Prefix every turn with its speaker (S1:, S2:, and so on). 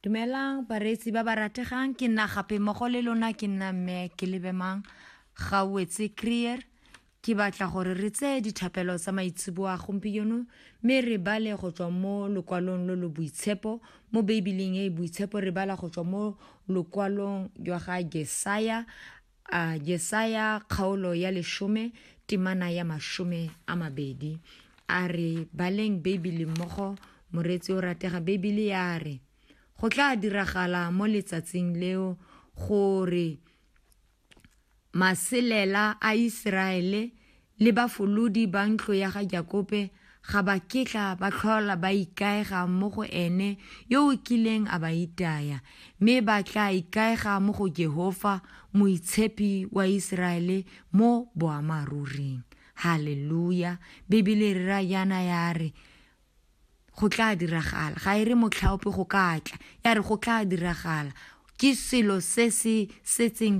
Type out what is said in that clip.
S1: Dumelang bareetsi ba ba rategang, ke nna gape mmogo le lona, ke nna mme ke lebemang Gauetse Krier. Ke batla gore re tseye dithapelo tsa maitseboa gompieno mme re bale go tswa mo lokwalong lo lo boitshepo mo Beibeleng e e boitshepo. Re bala go tswa mo lokwalong jwa ga Jesaya, a Jesaya kgaolo ya 10 temana ya 20. A re baleng Beibele mmogo, moreetsi o ratega. Beibele ya re, go tla diragala mo letsatsing leo gore maselela a Iseraele le bafolodi ba ntlo ya ga Jakobe ga ba ketla ba tlhola ba ikaega mo go ene yo o kileng a ba itaya, mme ba tla ikaega mo go Jehofa, Moitshepi wa Iseraele, mo boammaaruring. Haleluya! Bibele e re raya jaana ya re, go tla diragala. Ga e re motlhaope go ka tla, ya re go tla diragala. Ke selo se se setseng